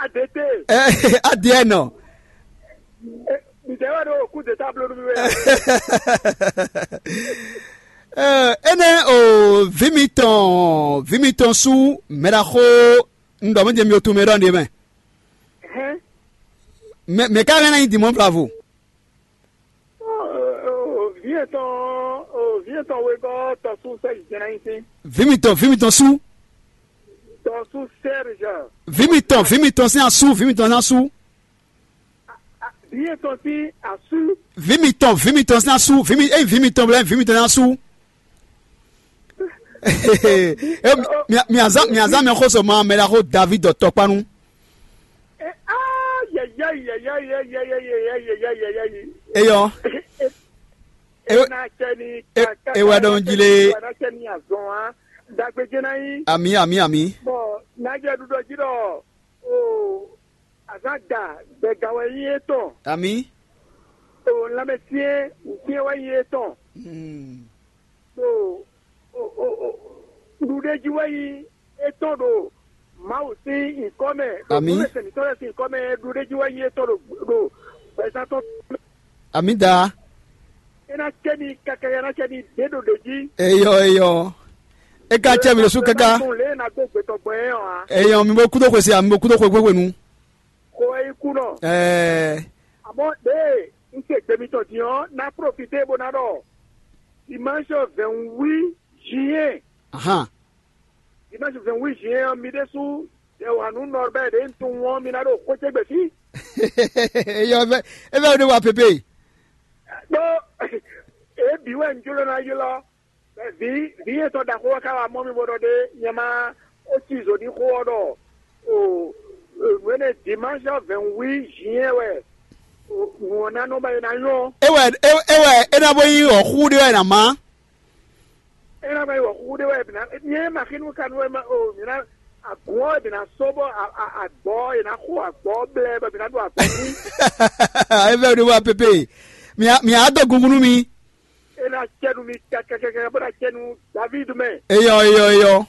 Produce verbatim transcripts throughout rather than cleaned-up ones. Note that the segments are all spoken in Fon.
Adete. Ɛ, adiɛ nɔ. Ɛ, ǹjẹ́ wà ló kú de tábìlì mi wɛ? Ɛ, énɛ́ o, vǐ mitɔn, vǐ mitɔn sú mɛɖaxó un ɖɔ mɛ jɛ mi otu mɛ ɖɔ ɖe mɛ. Hɛn. Mɛ mɛ ka hɛn ná nyi dimɔ bravo. Vǐ etɔn, vǐ etɔn wegɔ́ tɔsú sɛ́ jɛnɛ nyi sín. Vǐ mitɔn, vǐ mitɔn sú. Tɔsú Serge. Vǐ mitɔn, vǐ mitɔn sín asú, vǐ mitɔn sín asú. Vǐ etɔn sín asú. Vǐ mitɔn, vǐ mitɔn sín asú, vǐ mi, ényí vǐ mitɔn blɛ́, vǐ mitɔn sín asú. Eo, mia- miazán miazán mi xó sɔ ma mɛ ɖaxó David tɔkpanu. Yɛyɛyi yɛyɛyi yɛyɛyi yɛyɛyi yɛyɛyi. Eyɔ. Ena cɛ ni. Ewɛ ɖɔn jí lé. Ena cɛ ni azɔn wa. Dagbe jɛ na yi. Ami ami ami. Bɔn najɛ ɖuɖɔ jí ɖɔ o azan da gbɛga wɛ yi etɔn. Ami. O lanmɛsyɛn nsyɛn wɛ yi etɔn. Hmm. Ɖo o o o ɖuɖéjí wɛ yi etɔn ɖo Mawu sín nyǐkɔ mɛ. Ami. Ɖo mɛsɛn mǐtɔn lɛ́ɛ sín nyǐkɔ mɛ ɖuɖéjí wɛ yi etɔn ɖo ɖo gbɛzán tɔn. Ami da. É ná cɛ mi káká, é ná cɛ mi dě ɖo ɖě jí. Eyɔ eyɔ. E ka cɛ mi ɖo sú káká. Lě e ná dó gbetɔgbɔn é ɔ́ ǎ. Eyɔ mi bo kúdó xwe se, mi bo kúdó xwe gbégbé nu. Xo wɛ yi kú nɔ. Ɛɛ. Àmọ́ ɖě un se gbe mitɔn din ɔ́, ná profité bó ná ɖɔ dimanche vingt-huit juin. Ahan. Dimanche vingt-huit juin ɔ́, mi ɖésú ɖe wǎ nú Norbert ɖě un tunwun ɔ́, mi ná ɖo xwé ce gbe fí. Eyɔ, é fɛ é fɛ ɖé wa pépé. Ɖó èébí wɛ un jló ná ylɔ́. Vǐ vǐ etɔn ɖaxó ɔ́ ka wá mɔ mì bó ɖɔ ɖé nyɛ má ó cí zǒ ní xó ɔ́ ɖɔ o nǔ énɛ́ dimanche vingt-huit juin wɛ nǔ ɔ́ ná nɔ ba é ná nyɔ́. É wɛ é é wɛ é ná bó nyí wɔ̌xúxú ɖé wɛ è nǎ má. É ná ba nyí wɔ̌xúxú ɖé wɛ è bǐ ná nyɛ ma xínú ka nú wɛ má o mǐ ná agǔn ɔ́ è bǐ ná só bɔ agbɔ̌ è ná xo agbɔ̌ blɛ́ bɔ mǐ ná ɖo agbɔ̌ ní. É fɛ ɖé wá pépé. Mǐ á dó gungun nú mi. É ná cɛ nú mi kɛkɛkɛkɛ bó ná cɛ nú David mɛ. Eyɔ eyɔ eyɔ.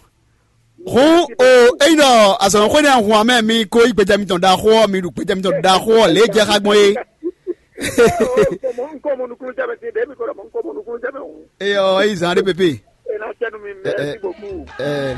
Hǔn o, ényí ɖɔ azɔ̌mɛxwé nɛ́ hun amɛ mi ko yí gbɛjɛ mitɔn ɖaxó ɔ́, mi ɖu gbɛjɛ mitɔn ɖaxó ɔ́ lě e jɛ xá gbɔn é. Nkɔmɔ nukúnnú jɛ mɛ sí ɖe mi ko ɖɔ mɔ nkɔmɔ nukúnnú jɛ mɛ hǔn. Eyɔ, eyi zan ɖé pépé. É ná cɛ nú mi mɛ sí bòkú. Ɛ